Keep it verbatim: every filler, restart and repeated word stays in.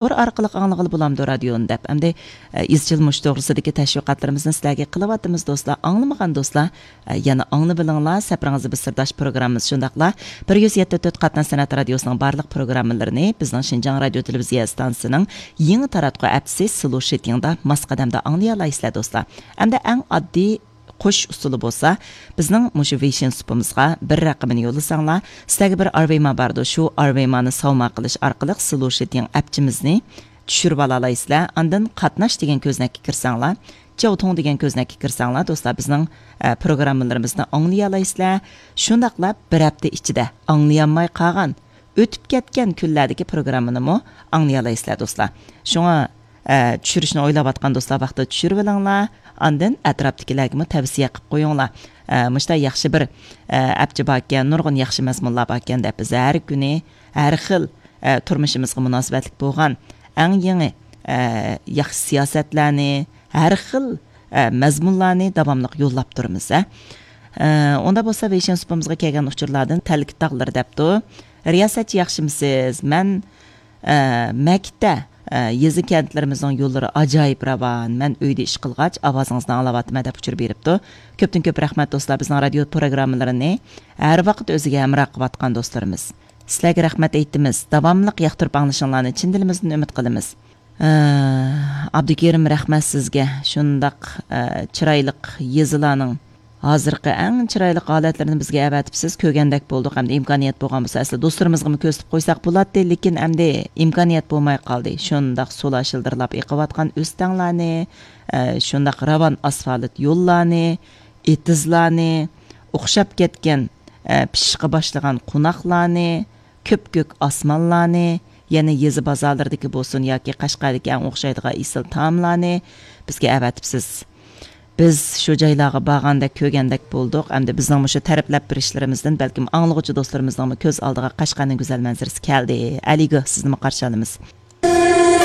تور ئارقىلىق ئاڭلىغىلى بولامدۇ رادىيونى دەپ. ئەمدى، ئە، ئىزچىل مۇشۇ توغرىسىدىكى تەشۋىقاتلىرىمىزنى سىلەرگە قىلىۋاتىمىز دوستلار. ئاڭلىمىغان دوستلار، ئە، يەنە ئاڭلىۋېلىڭلار. سەپىرىڭىزدە بىز سىرداش پروگراممىمىز شۇنداقلا بىر يۈز يەتتە تۆت قاتناش سەنئەت رادىيوسىنىڭ بارلىق پروگراممىلىرىنى بىزنىڭ شىنجاڭ رادىيو تېلېۋىزىيە ئىستانسىسىنىڭ يېڭى تاراتقۇ ئەپسى سلوشىتىڭدا ماس قەدەمدە ئاڭلىيالايسىلەر دوستلار. ئەمدى ئەڭ ئاددىي قوشۇش ئۇسۇلى بولسا، بىزنىڭ مۇشۇ ۋېيشىن سۇپىمىزغا بىر رەقىمىنى يوللىساڭلار، سىلەرگە بىر ئارۋېما بارىدۇ، شۇ ئارۋېمانى ساۋما قىلىش ئارقىلىق سلوشىتىڭ ئەپچىمىزنى چۈشۈرۈپ ئالالايسىلەر. ئاندىن قاتناش دېگەن كۆزنەككە كىرسەڭلار، چياۋتۇڭ دېگەن كۆزنەككە كىرسەڭلار، دوستلار، بىزنىڭ، ئە، پروگراممىلىرىمىزنى ئاڭلىيالايسىلەر. شۇنداقلا بىر ھەپتە ئىچىدە ئاڭلىيالماي قالغان، ئۆتۈپ كەتكەن كۈنلەردىكى پروگراممىنىمۇ ئاڭلىيالايسىلەر، دوستلار. شۇڭا، ئە، چۈشۈرۈشنى ئويلاۋاتقان دوستلار ۋاقتىدا چۈشۈرۈۋېلىڭلار. ئاندىن ئەتراپتىكىلەرگىمۇ تەۋسىيە قىلىپ قويۇڭلار. ئە، مۇشۇنداق ياخشى بىر، ئە، ئەپچى باركەن، نۇرغۇن ياخشى مەزمۇنلار باركەن دەپ، بىز ھەر كۈنى، ھەر خىل، ئە، تۇرمۇشىمىزغا مۇناسىۋەتلىك بولغان ئەڭ يېڭى، ئە، ياخشى سىياسەتلەرنى، ھەر خىل، ئە، مەزمۇنلارنى داۋاملىق يوللاپ تۇرىمىز، ھە. ئە، ئۇنداق بولسا، ۋېيشىن سۇپىمىزغا كەلگەن ئۇچۇرلاردىن تەلكە تاغلىرى دەپتۇ. رىياسەتچى، ياخشىمۇسىز؟ مەن، ئە، مەكىتتە، ئە، يېزا كەنتلىرىمىزنىڭ يوللىرى ئاجايىپ راۋان. مەن ئۆيدە ئىش قىلغاچ، ئاۋازىڭىزنى ئاڭلاۋاتىمەن دەپ ئۇچۇر بېرىپتۇ. كۆپتىن كۆپ رەھمەت دوستلار، بىزنىڭ رادىيو پروگراممىلىرىنى ھەر ۋاقىت ئۆزىگە ھەمراھ قىلىۋاتقان دوستلىرىمىز. سىلەرگە رەھمەت ئېيتىمىز. داۋاملىق ياقتۇرۇپ ئاڭلىشىڭلارنى چىن دىلىمىزدىن ئۈمىد قىلىمىز. ئە، ئابدۇكېرىم، رەھمەت سىزگە. شۇنداق، ئە، چىرايلىق يېزىلارنىڭ ھازىرقى ئەڭ چىرايلىق ھالەتلىرىنى بىزگە ئەۋەتىپسىز. كۆرگەندەك بولدۇق. ئەمدى ئىمكانىيەت بولغان بولسا، ئەسلى دوستلىرىمىزغىمۇ كۆرسىتىپ قويساق بولاتتى، لېكىن ئەمدى ئىمكانىيەت بولماي قالدى. شۇنداق سۇلار شىلدىرلاپ ئېقىۋاتقان ئۆستەڭلارنى، ئە، شۇنداق راۋان ئاسفالت يوللارنى، ئېتىزلارنى، ئوخشاپ كەتكەن، ئە، پىشىشقا باشلىغان قوناقلارنى، كۆپكۆك ئاسمانلارنى، يەنە يېزا بازارلىرىدىكى بولسۇن ياكى قەشقەردىكى ئەڭ ئوخشايدىغان ئېسىل تائاملارنى بىزگە ئەۋەتىپسىز. بىز شۇ جايلارغا بارغاندەك، كۆرگەندەك بولدۇق. ئەمدى بىزنىڭ مۇشۇ تەرىپلەپ بېرىشلىرىمىزدىن بەلكىم ئاڭلىغۇچى دوستلىرىمىزنىڭمۇ كۆز ئالدىغا قەشقەرنىڭ گۈزەل مەنزىرىسى كەلدى. ئەلىگۆھ، سىزنىمۇ قارشى ئالىمىز.